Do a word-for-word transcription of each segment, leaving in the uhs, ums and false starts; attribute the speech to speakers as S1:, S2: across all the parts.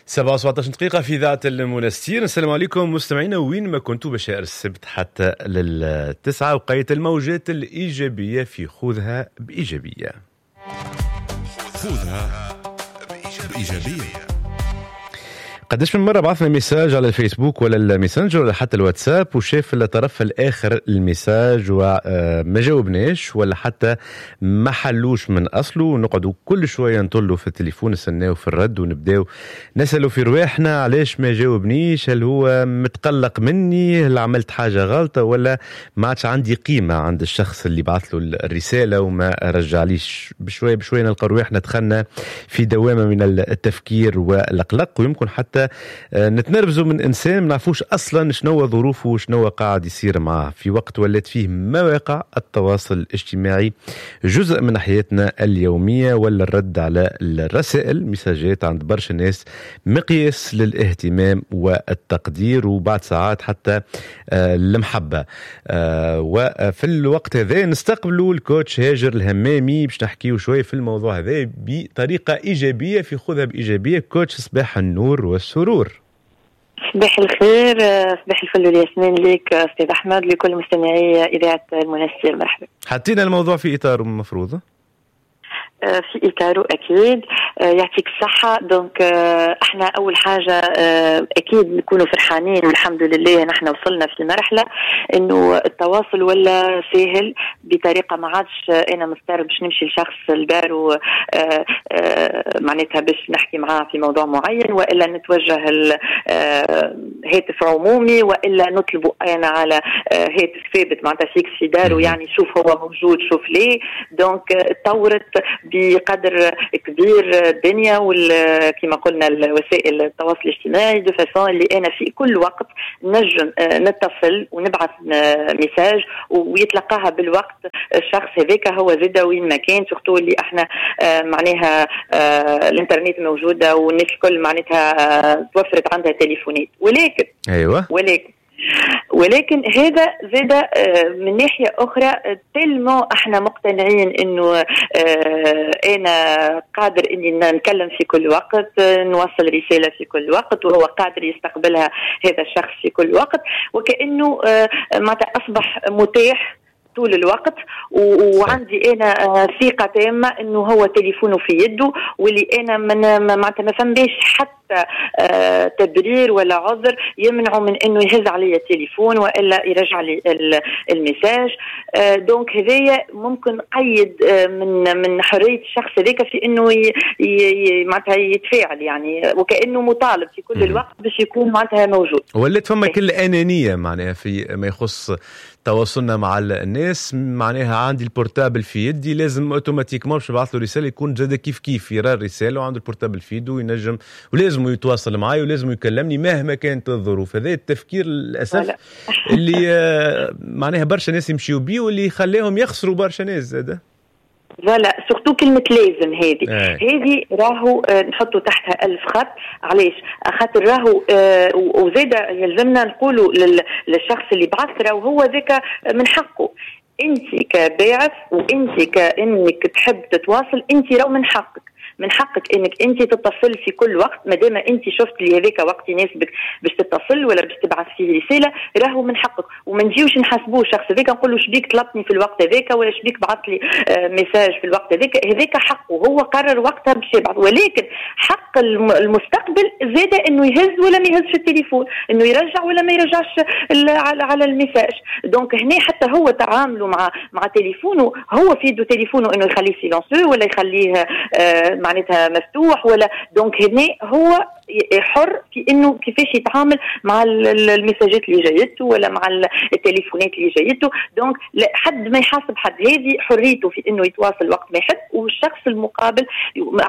S1: سبعة وسبعطاش دقيقة في إذاعة المنستير. السلام عليكم مستمعينا وين ما كنتوا، بشائر السبت حتى للتسعة وقيت الموجات الإيجابية في خذها بإيجابية.
S2: خذها بإيجابية.
S1: قداش من مرة بعثنا message على الفيسبوك ولا الميسنجر ولا حتى الواتساب وشاف الطرف الآخر ال message وما جاوبناش ولا حتى ما حلوش من أصله، ونقعدوا كل شوية نطلوا في التليفون نستناو في الرد ونبداو نسألوا في رواحنا علاش ما جاوبنيش، هل هو متقلق مني، هل عملت حاجة غلطة، ولا ما عادش عندي قيمة عند الشخص اللي بعث له الرسالة وما رجعليش. بشوية بشوية نلقى رواحنا دخلنا في دوامة من التفكير والقلق، ويمكن حتى نتنرفزوا من انسان ما نعرفوش اصلا شنو ظروفه وشنو قاعد يصير معاه. في وقت ولات فيه مواقع التواصل الاجتماعي جزء من حياتنا اليومية، ولا الرد على الرسائل ميساجات عند برشا ناس مقياس للاهتمام والتقدير وبعد ساعات حتى المحبة. وفي الوقت هذا نستقبلوا ال coach هاجر الهمامي باش نحكيو شوية في الموضوع هذا بطريقة ايجابية في خذها بايجابية. coach صباح النور والسرور.
S3: صباح الخير، صباح الفل والياسمين ليك استاذ احمد، لكل مستمعي اذاعة المنستير. مرحبا.
S1: حطينا الموضوع في اطاره المفروض،
S3: في اطاره اكيد. يعطيك الصحة. donc احنا اول حاجة اكيد نكونوا فرحانين والحمد لله نحن وصلنا في مرحلة انه التواصل ولا سهل بطريقة ما عادش انا مضطر باش نمشي لشخص لداره معناتها باش نحكي معاه في موضوع معين، والا نتوجه هاتف عمومي، والا نطلبه انا على هاتف ثابت معناتها fixe في داره، يعني شوف هو موجود شوف ليه. donc تطورت بقدر كبير الدنيا وكما قلنا الوسائل التواصل الاجتماعي de façon اللي انا في كل وقت نجم نتصل ونبعث message ويتلقاها بالوقت الشخص هذاك هو زاده وين ما كان، surtout اللي احنا معناها الانترنت موجودة والناس الكل معناتها توفرت عندها تليفونات. ولكن
S1: ايوه
S3: ولكن ولكن هذا زاد من ناحية أخرى tellement احنا مقتنعين انه انا قادر اني نتكلم في كل وقت، نوصل رسالة في كل وقت، وهو قادر يستقبلها هذا الشخص في كل وقت، وكأنه معناتها أصبح متاح طول الوقت، وعندي انا ثقة تامة انه هو تليفونه في يده، واللي انا من معناتها ما فماش حتى تبرير ولا عذر يمنعه من انه يهز علي التليفون والا يرجع لي ال message. donc هذايا ممكن قيد من من حرية الشخص هذاك في انه معناتها يتفاعل، يعني وكانه مطالب في كل الوقت باش يكون معناتها موجود.
S1: ولات فما كل انانية معناها في ما يخص تواصلنا مع الناس، معناها عندي ال portable في يدي لازم automatiquement باش نبعث له رسالة يكون زاد كيف كيف يرى الرسالة وعنده ال portable في يده وينجم ولازم يتواصل معي ولازم يكلمني مهما كانت الظروف. هذا التفكير للاسف اللي معناها برشا ناس يمشيوا بيه واللي خلاهم يخسروا برشا ناس زاد.
S3: voilà surtout كلمة لازم هذه هذه راهو نحطوا تحتها ألف خط. علاش؟ خاطر راهو آه وزاد يلزمنا نقولوا للشخص اللي بعث راهو هو ذاك من حقه. انت كباعث وانت كانك تحب تتواصل، انت راهو من حقك من حقك انك انت تتصل في كل وقت، ما دام انت شفت اللي هذاك وقت يناسبك باش تتصل ولا باش تبعث فيه رسالة، راهو من حقك. وما نجيوش نحاسبوه الشخص هذاك نقول له شبيك طلبتني في الوقت هذاك ولا شبيك بعث لي message في الوقت هذاك، هذاك حقه هو قرر وقتها باش يبعث. ولكن حق المستقبل زاد انه يهز ولا ما يهزش التليفون، انه يرجع ولا ما يرجعش على على ال message. donc هنا حتى هو تعامله مع مع تليفونه، هو في يده تليفونه انه يخليه silencieux ولا يخليه آه معناتها مفتوح ولا. donc هنا هو حر في انه كيفاش يتعامل مع المساجات اللي جايته ولا مع التليفونات اللي جايته. donc حد ما يحاسب حد، هذه حريته في انه يتواصل وقت ما يحب، والشخص المقابل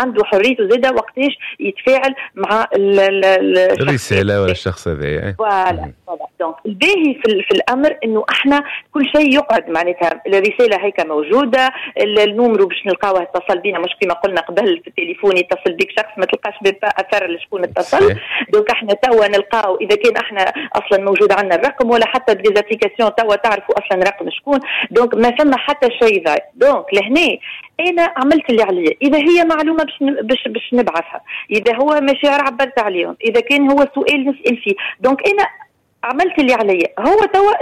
S3: عنده حريته زاده وقتاش يتفاعل مع
S1: الرسالة ولا الشخص هذا.
S3: voilà donc الباهي في, في الامر انه احنا كل شيء يقعد معناتها الرسالة هيك موجودة، ال numéro باش نلقاوه اتصل بينا، مش كما قلنا قبل في التليفون يتصل بك شخص ما تلقاش اثر لشكون اتصل. donc احنا توا نلقاو اذا كان احنا اصلا موجود عندنا الرقم ولا حتى ب des applications توا تعرفوا اصلا رقم شكون. donc ما فما حتى شيء ضايع. donc لهنا انا عملت اللي عليا، اذا هي معلومة باش باش باش نبعثها، اذا هو مشاعر عبرت عليهم، اذا كان هو سؤال نسال فيه، donc انا عملت اللي عليا. هو توا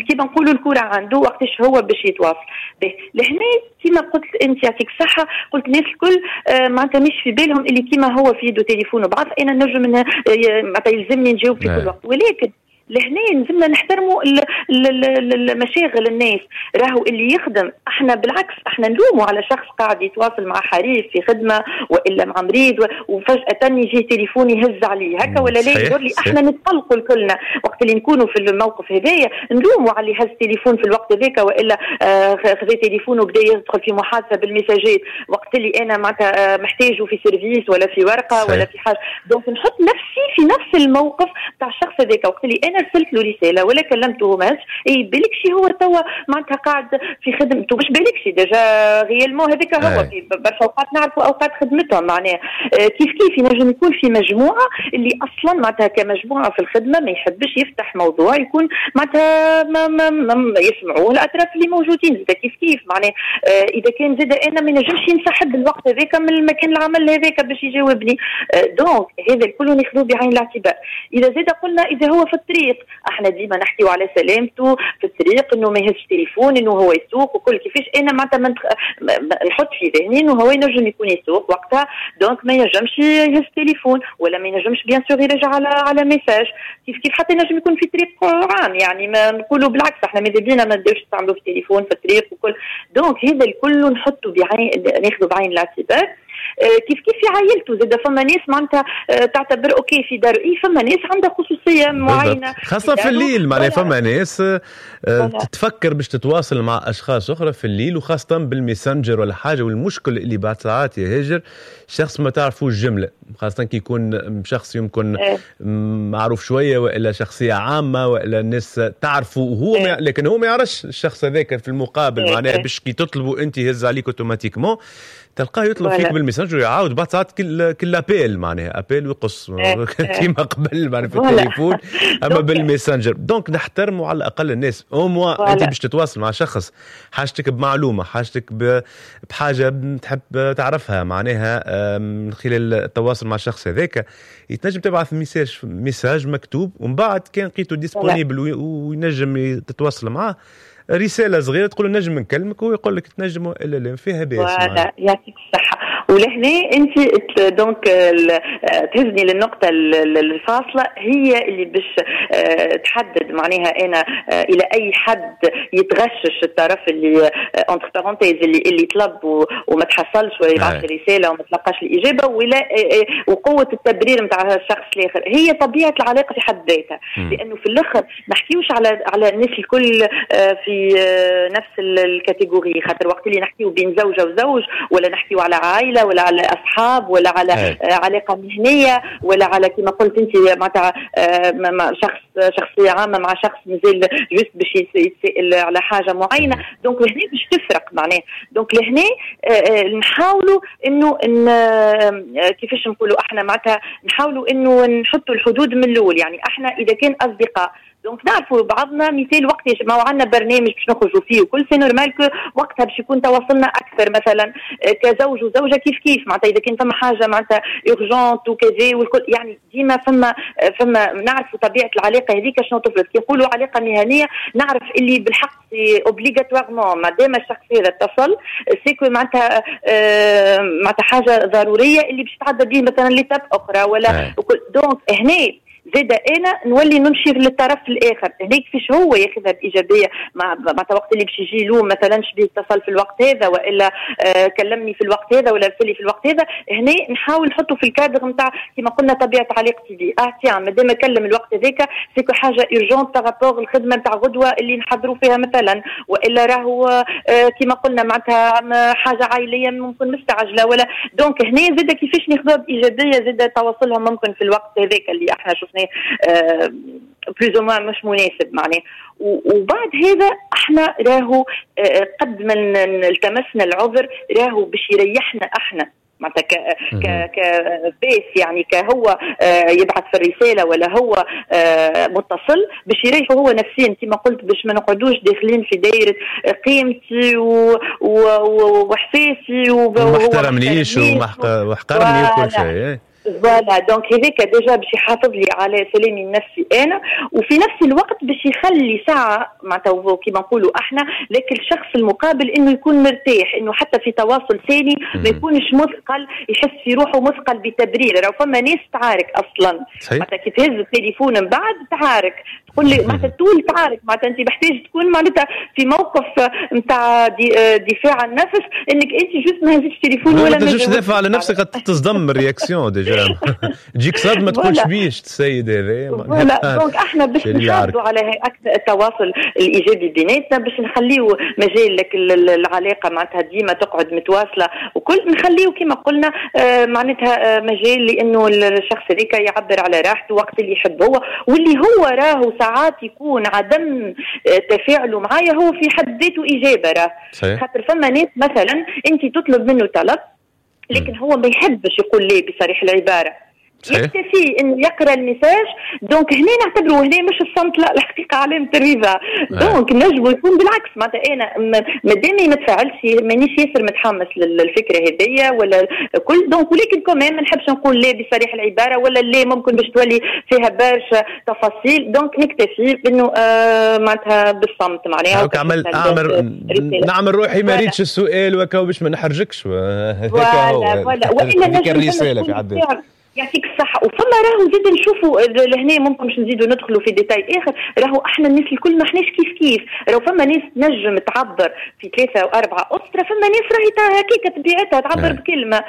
S3: كيما نقولوا الكره عنده وقتاش هو باش يتواصل به. لهنا كيما قلت انت يعطيك الصحة، قلت الناس الكل آه معناتها مش في بالهم اللي كيما هو في يده تليفون وبعث انا نجم معناتها يلزمني نجاوب في كل وقت، ولكن لهنا لازمنا نحترموا المشاغل الناس. راهو اللي يخدم احنا بالعكس احنا نلوموا على شخص قاعد يتواصل مع حريف في خدمة والا مع مريض وفجاة يجي تليفون يهز عليه هكا ولا لا، يقول لي احنا نتقلقوا كلنا وقت اللي نكونوا في الموقف هذايا، نلوموا على اللي هز تليفون في الوقت هذاك والا آه خذا تليفون وبدا يدخل في محادثة بالمساجات وقت اللي انا معناتها محتاجه في service ولا في ورقة ولا في حاجة. donc نحط نفسي في نفس الموقف تاع الشخص هذاك وقت اللي انا ارسلت له رسالة ولا كلمته ما هزش، اي بالك شي هو توا معناتها قاعد في خدمته، مش بالك شي déjà réellement هذاك هو في برشا اوقات نعرفوا اوقات خدمتهم معناها كيف كيف ينجم يكون في مجموعة اللي اصلا معناتها كمجموعة في الخدمة ما يحبش يفتح موضوع يكون معناتها ما ما ما يسمعوه الاطراف اللي موجودين زاد كيف كيف معناها آه اذا كان زاد انا ما نجمش ينسحب الوقت هذاك من المكان العمل هذاك باش يجاوبني. آه donc هذا الكل ناخذوه بعين الاعتبار. اذا زاد قلنا اذا هو في الطريق احنا ديما نحكيو على سلامته في الطريق انه ما يهزش تليفون انه هو يسوق وكل، كيفاش انا معناتها نحط في ذهني انه هو ينجم يكون يسوق وقتها، donc ما ينجمش يهز تليفون ولا ما ينجمش bien sûr يرجع على على message كيف كيف، حتى ينجم يكون في طريق عام يعني ما نقولوا بالعكس احنا ماذا بينا ما نبداوش نستعملوا في التليفون في الطريق وكل. donc هذا الكل نحطه بعين ناخذه بعين الاعتبار. كيف كيف في عائلته زاد فما ناس معناتها تعتبر OK في دار، اي فما ناس عندها خصوصية معينة
S1: خاصة في الليل معناها فما ناس تتفكر باش تتواصل مع اشخاص اخرى في الليل وخاصة بالميسنجر ولا حاجة. والمشكل اللي بعد ساعات يا هاجر شخص ما تعرفوش جملة، خاصة كي يكون شخص يمكن معروف شوية والا شخصية عامة والا الناس تعرفه وهو ما لكن هو ما يعرفش الشخص هذاك في المقابل معناها باش كي تطلبوا انت يهز عليك automatiquement تلقاه يطلب فيك بالميسنجر ويعاود بعد ساعات كل كل appel معناها appel ويقص كيما قبل معناها في التليفون اما بالميسنجر. donc نحترموا على الاقل الناس au moins انت باش تتواصل مع شخص حاجتك بمعلومة حاجتك بحاجة تحب تعرفها معناها من خلال التواصل مع الشخص هذاك يتنجم تبعث message message مكتوب ومن بعد كان لقيته disponible وينجم تتواصل معاه رسالة صغيرة تقول له نجم نكلمك وهو يقول لك تنجم والا لا فيها باس.
S3: voilà يعطيك الصحة. ولهنا انت donc تهزني للنقطة الفاصلة هي اللي باش تحدد معناها انا الى اي حد يتغشش الطرف اللي entre parenthèses اللي اللي طلب وما تحصلش ولا يبعث رسالة وما تلقاش الاجابة ولا وقوه التبرير نتاع الشخص الاخر. هي طبيعة العلاقة في حد ذاتها، لانه في الاخر ما نحكيوش على على الناس الكل في نفس ال catégorie، خاطر وقت اللي نحكيو بين زوجه وزوج ولا نحكيو على عائلة ولا على اصحاب ولا على أي. علاقة مهنية ولا على كما قلت انت معناتها شخص شخصية عامة مع شخص مازال juste باش يتسال على حاجة معينة. donc لهنا باش تفرق معناها. donc لهنا نحاولوا انه إن كيفاش نقولوا احنا معناتها نحاولوا انه نحطوا الحدود من الاول. يعني احنا اذا كان اصدقاء donc نعرفوا بعضنا، مثال وقت ما عندنا برنامج باش نخرجوا فيه وكل c'est normal que وقتها باش يكون تواصلنا اكثر مثلا كزوج وزوجه كيف كيف معناتها اذا كان فما حاجة معناتها urgente وكذا والكل، يعني ديما فما فما نعرفوا طبيعة العلاقة هذيك شنو تفرض. كي نقولوا علاقة مهنية نعرف اللي بالحق c'est obligatoirement ما دام الشخص هذا اتصل c'est que معناتها معناتها حاجة ضرورية اللي باش تعدى به مثلا l'étape اخرى ولا donc هنا زاد انا نولي نمشي للطرف الاخر هناك كيفاش هو ياخذها بايجابية مع معناتها وقت اللي باش يجي له مثلا شبيه اتصل في الوقت هذا والا آه كلمني في الوقت هذا ولا ارسل لي في الوقت هذا. هنا نحاول نحطه في الكادر نتاع كما قلنا طبيعة علاقتي به. اه tiens مادام كلم الوقت هذاك c'est que حاجة urgente par rapport الخدمة نتاع غدوه اللي نحضروا فيها مثلا، والا راهو آه كما قلنا معناتها حاجة عائلية ممكن مستعجلة ولا. donc هنا زاد كيفاش ناخذوها بايجابية زاد تواصلهم ممكن في الوقت هذاك اللي احنا شفناه plus ou moins مش مناسب معناه. وبعد هذا احنا راهو قد ما التمسنا العذر راهو باش يريحنا احنا معناتها ك ك كبيس يعني كهو آه، يبعث في الرسالة ولا هو آه، متصل، باش يريحه هو نفسيا كما قلت، باش ما نقعدوش داخلين في دائرة قيمتي واحساسي.
S1: وما احترمنيش وحقرني وكل شيء.
S3: voilà، donc هذاك déjà باش يحافظ لي على سلامي النفسي انا، وفي نفس الوقت باش يخلي ساعة معناتها كيما نقولوا احنا لكن الشخص المقابل انه يكون مرتاح، انه حتى في تواصل ثاني ما يكونش مثقل، يحس في روحه مثقل بتبرير. راهو فما ناس تعارك اصلا، معناتها كي تهز التليفون من بعد تعارك، تقول لي معناتها طول تعارك، معناتها انت محتاج تكون معناتها في موقف نتاع دفاع عن النفس، انك انت juste ما هزيتش التليفون
S1: ولا ما تنجمش تدافع على نفسك، تصدم réaction déjà، تجيك صدمه، تقولش بيش السيد هذا.
S3: voilà، donc احنا باش نحافظوا على اكثر التواصل الايجابي بيناتنا، باش نخليو مجال لك العلاقة معناتها ديما تقعد متواصلة وكل، نخليو كما قلنا آه، معناتها آه، مجال لانه الشخص هذاك يعبر على راحته وقت اللي يحب هو، واللي هو راهو ساعات يكون عدم آه، تفاعله معايا هو في حد ذاته اجابه راه. خاطر فما ناس مثلا انت تطلب منه طلب لكن هو ما يحبش يقول لي بصريح العباره، صحيح. يكتفي انه يقرا ال message. donc هنا نعتبره هنا مش الصمت، لا، الحقيقة علامة الرضا. donc نجم يكون بالعكس، معناتها انا مادامي ما تفاعلش مانيش ياسر متحمس للفكرة هذيا ولا كل، donc ولكن quand même ما نحبش نقول لا بصريح العباره، ولا لا ممكن باش تولي فيها برشا تفاصيل، donc نكتفي بانه آه معناتها بالصمت معناها.
S1: اعمل اعمل نعمل روحي ما ريتش السؤال وكا باش ما نحرجكش.
S3: voilà voilà
S1: والا الرسالة في حد
S3: يعطيك الصحة. وفما راهو زيد نشوفوا لهنا ممكن باش نزيدوا ندخلوا في détail اخر، راهو احنا الناس الكل ما احناش كيف كيف. راهو فما ناس تنجم تعبر في ثلاثة وأربعة أسطرة، فما ناس راهي هكاك طبيعتها تعبر نعم. بكلمة،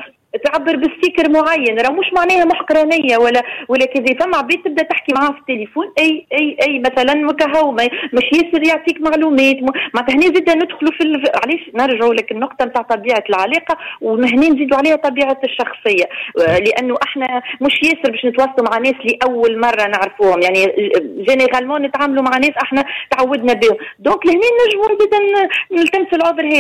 S3: تعبر ب sticker معين، راه مش معناها محقرانيه ولا ولا كذا. فما عباد تبدا تحكي معاه في التليفون اي اي اي مثلا وكهو، مش ياسر يعطيك معلومات. معناتها هنا زيد ندخلوا في ال... علاش نرجعوا لك النقطة نتاع طبيعة العلاقه، وهنا نزيدوا عليها طبيعة الشخصيه، لانه احنا مش ياسر باش نتواصلوا مع ناس لاول مرة نعرفوهم، يعني généralement نتعاملوا مع ناس احنا تعودنا بهم. donc لهنا نجموا نزيد نلتمسوا العذر هذا.